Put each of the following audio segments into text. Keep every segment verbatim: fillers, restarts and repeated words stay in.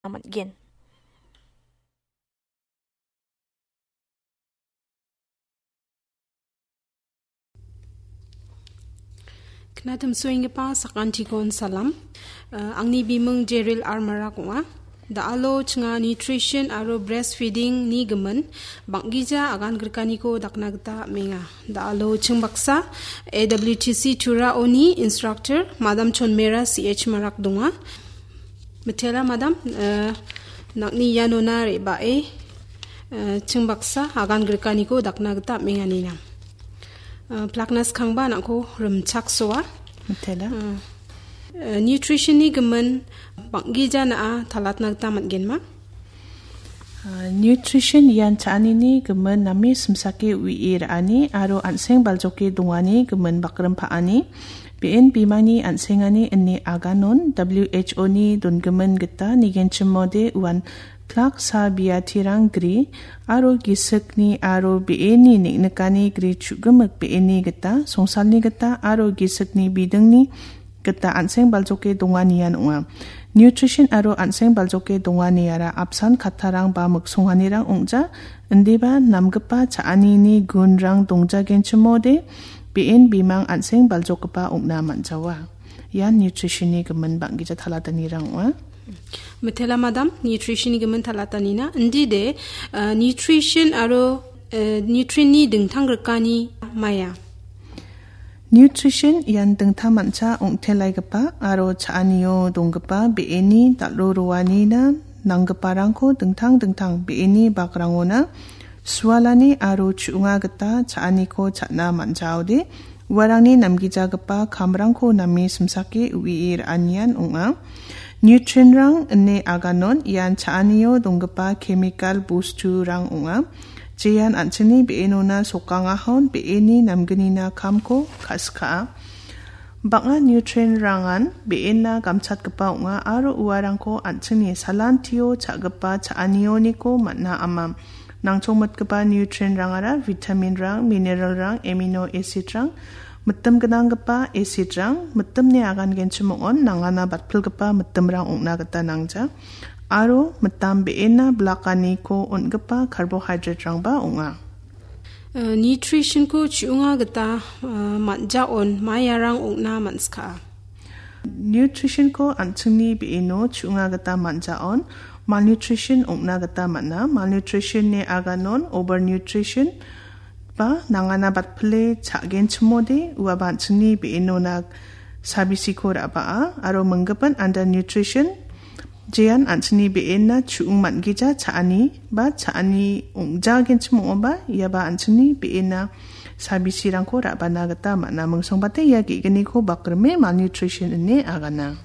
man·gen. Knatimsoenggipa sakantikon salam. Eh, angni biming Jeril Armarak ong·a. Da·alo chinga nutrition aro breastfeeding-ni gimin bang·gija agan grikaniko dakna gita am·enga. Da·alo ching baksa A W T C Turaoni instructor Madam Chonmera C H Marak donga. Mitela Madam, eh, nang·ni ianona re·bae, eh, ching baksa agan grikaniko dakna gita am·enganina. Eh, plakna skangba nang·ko rimchaksoa. Mitela. Eh, eh, nutrition-ni gimin bang·gija na·a talatna gita man·genma? Ah, nutrition ian cha·anini gimin name simsake uie ra·ani aro an·seng baljoke dongani gimin bakrim pa·ani. Be·en bimangni an·sengani ine aganon W H O-ni dongimin gita nigenchimode uan plak sa biatirang gri aro gisikni aro be·eni neng·nikani gri chu·gimik be·eni gita songsalni gita aro gisikni bidingni gita an·seng baljoke donganian ong·a. Nutrition aro an·seng baljoke donganiara apsan kattarang ba miksonganirang ong·ja, indiba namgipa cha·anini gunrang dongjagenchimode be·en bimang an·seng baljokgipa ong·na man·jawa. Ian nutrition-ni gimin bang·gija talatanirang ong·a. Mitela Madam, nutrition-ni gimin talatanina. Indide, eh, nutrition aro, eh, nutrient-ni dingtang grikani maya. Nutrition ian dingtang mancha ong·telaigipa aro cha·anio donggipa be·eni dal·o roanina nanggiparangko dingtang dingtang be·eni bakrangona sualani aro chu·onga gita cha·aniko cha·na man·jaode uarangni namgijagipa kamrangko name simsake uie ra·anian ong·a. Nutrient-rang ine aganon ian cha·anio donggipa chemical bosturang ong·a. Jean an·chingni be·enona sokangahon be·eni namgnina kamko ka·skaa. Bang·a nutrient-rangan be·ena gamchatgipa ong·a aro uarangko an·chingni salantio cha·gipa cha·anioniko man·a ama. Nangchongmitgipa nutrient-rangara vitamin-rang, mineral-rang, amino acid-rang, mitim gnanggipa acid-rang, mitimni agangenchim ong·on nangana batpilgipa mitimrang ong·na gita nangja. Aro mitam be·ena blakaniko on·gipa carbohydrate-rangba ong·a. Eh, nutrition-ko chu·onga gita, eh, man·jaon maiarang ong·na man·skaa. Nutrition-ko an·chingni be·eno chu·onga gita man·jaon malnutrition ong·na gita man·a. Malnutrition-ni aganon overnutrition ba nangana batpile cha·genchimode uaba an·chingni be·enona sabisiko ra·baa aro minggipin undernutrition jean an·chingni be·ena chu·ong man·gija cha·ani ba cha·ani ong·jagenchim ong·oba iaba an·chingni be·ena sabisirangko ra·bana gita man·a. Mingsongbate ia ge·gniko bakrime malnutrition ine agana.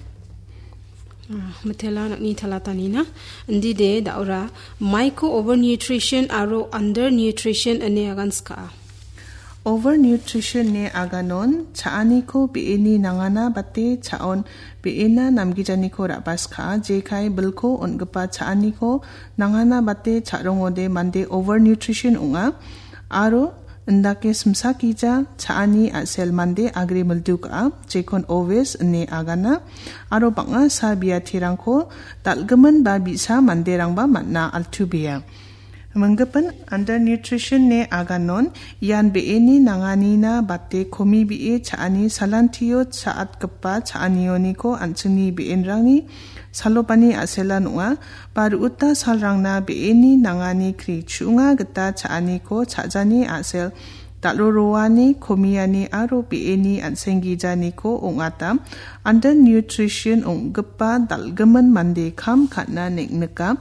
Ah, mitela nang·ni talatanina. Indide da·ora maiko overnutrition aro undernutrition ine agan skaa. Overnutrition-ni aganon cha·aniko be·eni nangana bate cha·on be·ena namgijaniko ra·baskaa, jekai bilko on·gipa cha·aniko nangana bate cha·rongode mande overnutrition ong·a. Aro indake simsakija cha·ani a·sel mande agre mildu ka·a, jekon obese ine agana. Aro bang·a sa biatirangko dal·gimin ba bi·sa manderangba man·a, altubea. Minggipin undernutrition-ni aganon ian be·eni nanganina bate komibee cha·ani salantio cha·atgipa cha·anioniko an·chingni be·enrangni salopani a·selan ong·a. Ba ru·uta salrangna be·eni nangani kri chu·onga gita cha·aniko cha·jani a·sel dal·o roani, komiani aro be·eni an·senggijaniko ong·ata. Undernutrition ong·gipa dal·gimin mande kam ka·na neng·nika.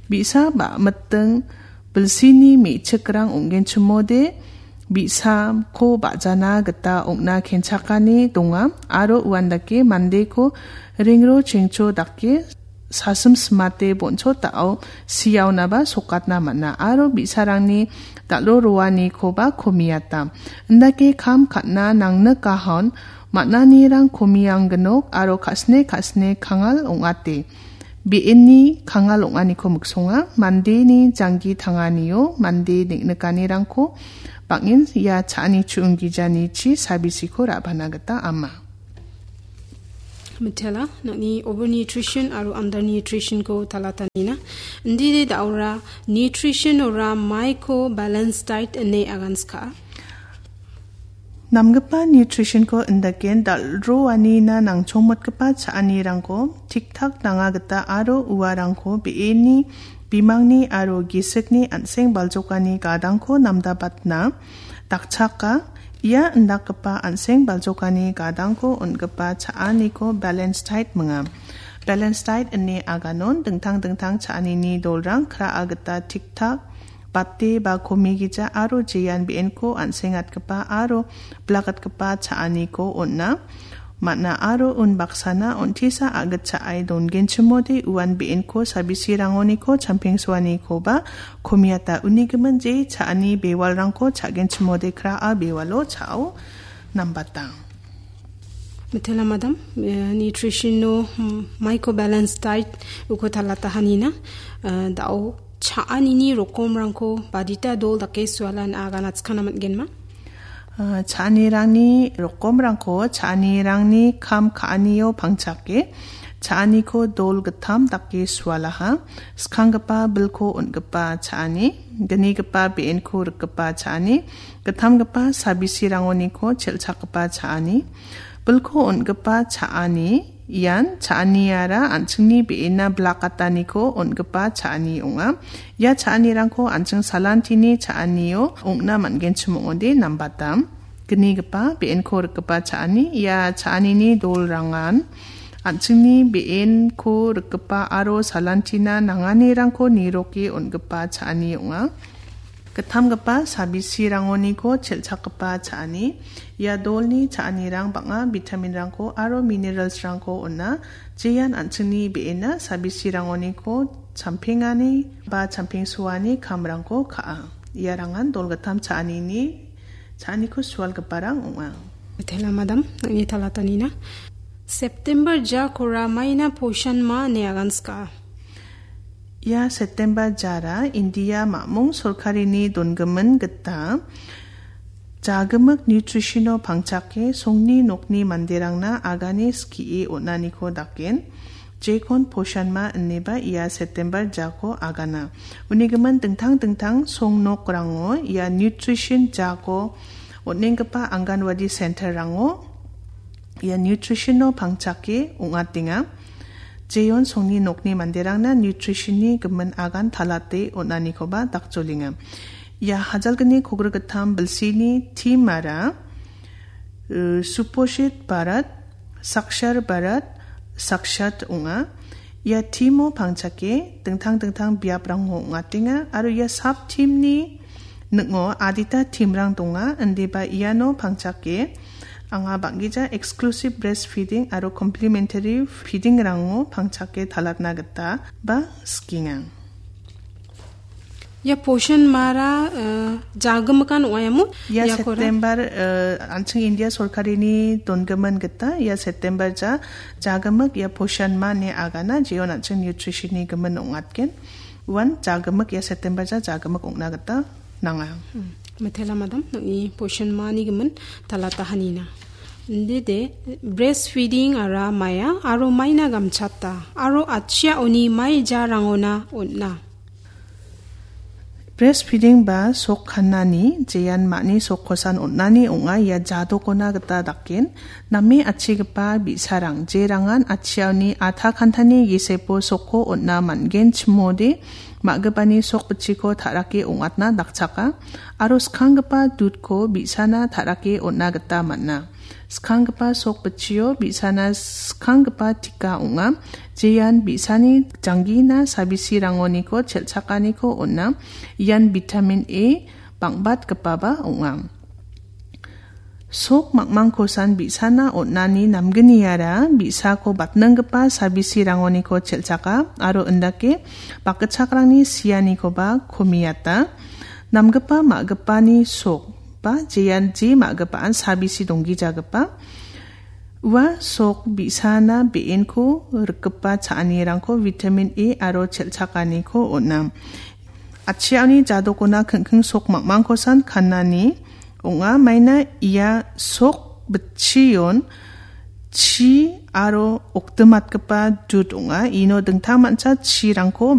Bi·sa ba miting bilsini me·chikrang ong·genchimode bi·sako ba·jana gita ong·na kenchakani donga aro uandake mandeko ringro chengcho dake sasim simate bonchotao siaonaba sokatna man·a aro bi·sarangni dal·o roanikoba komiata. Indake kam ka·na nangnikahon man·anirang komiangginok aro ka·sne ka·sne kangal ong·ate. Be·eni kangal ong·aniko miksonga, mandeni janggi tanganio mande neng·nikanirangko bang·en ia cha·ani chu·onggijanichi sabisiko ra·bana gita ama. Mitela, nang·ni overnutrition aro undernutrition-ko talatanina. Indide da·ora nutrition ora maiko balance diet ine aganska. Namgipa nutrition-ko indaken dal·roanina nangchongmotgipa cha·anirangko tik-tak nanga gita aro uarangko be·eni bimangni aro gisikni an·seng baljokani gadangko namdabatna dakchaka. Ia indakgipa an·seng baljokani gadangko on·gipa cha·aniko balance diet minga. Balance diet ine aganon dingtang dingtang cha·anini dolrang kra·a gita tik-tak bate ba komigija aro jean be·enko an·sengatgipa aro blagatgipa cha·aniko on·a. Man·a aro unbaksana on·tisa a·gitchaai dongenchimode uan be·enko sabisirangoniko champengsoanikoba komiata unigimin je cha·ani bewalrangko cha·genchimode kra·a bewalo cha·o nambatang. Mitela madam, eh, nutrition-o, mm, maiko balance diet uko talatahanina, eh, da·o cha·anini rokomrangko badita dol dake sualan aganatskana man·genma? Ah, cha·anirangni rokomrangko cha·anirangni kam ka·anio pangchake cha·aniko dol gittam dake sualaha. Skanggipa bilko on·gipa cha·ani, gnigipa be·enko rikgipa cha·ani, gittamgipa sabisirangoniko chel·chakgipa cha·ani, bilko on·gipa cha·ani, ian cha·aniara an·chingni be·ena blakataniko on·gipa cha·ani ong·a. Ia cha·anirangko an·ching salantini cha·anio ong·na man·genchim ong·ode nambatam. Gnigipa be·enko rikgipa cha·ani, ia cha·anini dolrangan an·chingni be·enko rikgipa aro salantina nanganirangko niroke on·gipa cha·ani ong·a. Gittamgipa sabisirangoniko chel·chakgipa cha·ani. Ia dolni cha·anirang bang·a vitaminrangko aro mineralsrangko on·a. Jean an·chingni be·ena sabisirangoniko champengani ba champengsoani kamrangko ka·a. Iarangan dolgittam cha·anini, cha·aniko sualgiparang ong·a. Mitela madam, nang·ni talatanina. September jakora maina poshan ma ine aganska. Ia September jara India mamung sorkarini dongimin gita jagimik nutrition-o pangchake songni nokni manderangna agane skie on·aniko daken, jekon poshan ma ineba ia September jako agana. Unigimin dingtang dingtang song nokrango ia nutrition jako on·enggipa Anganwadi center-rango ia nutrition-o pangchake ong·atenga. Jeon songni nokni manderangna nutrition-ni gimin agan talate on·anikoba dakjolenga. Ia hajalgni kogri gittam bilsini theme-ara, eh, Suposhit Bharat, Sakshar Bharat, Sakshat ong·a. Ia theme-o pangchake dingtang dingtang biaprango ong·atenga aro ia sub theme-ni ning·o adita theme-rang donga, indiba iano pangchake anga bang·gija exclusive breastfeeding aro complementary feeding-rango pangchake talatna gita ba sikenga. Ia poshan mara, eh, jagimikan ong·a iamo? Ia iakora? September, eh, an·ching India sorkarini dongimin gita ia September ja jagimik ia poshan ma ine agana jeon an·ching nutrition-ni gimin ong·atgen. Uan jagimik ia September ja jagimik ong·na gita nanga. Hmm. Mitela madam, nang·ni poshan mani gimin talatahanina. Indide breastfeeding-ara maia aro maina gamchata aro atchiaoni mai jarangona on·a. Breastfeeding ba sok kannani jean ma·ni sokkosan on·ani ong·a ia jadokona gita daken. Name atchigipa bi·sarang, jerangan atchiaoni atha kantani gisepo sokko on·a man·gen chimode, ma·gipani sok bitchiko ta·rake ong·atna dakchaka, aro skanggipa dudko bi·sana ta·rake on·a gita man·a. Skanggipa sok bitchio bi·sana skanggipa tika ong·a, jean bi·sani janggina sabisirangoniko chel·chakaniko on·a, ian vitamin A bang·batgipaba ong·a. Sok mangmangkosan bi·sana on·ani namgniara bi·sako batninggipa sabisirangoniko chel·chaka aro indake bakgitchakrangni sianikoba komiata. Namgipa ma·gipani sok ba jean je ma·gipaan sabisi donggijagipa. Ua sok bi·sana be·enko rikgipa cha·anirangko vitamin A aro chel·chakaniko on·a. Atchiaoni jadokona king·king sok mangmangkosan kanani ong·a. Maina ia sok bitchion chi aro oktimatgipa dud ong·a. Ino dingtang mancha chirangko ba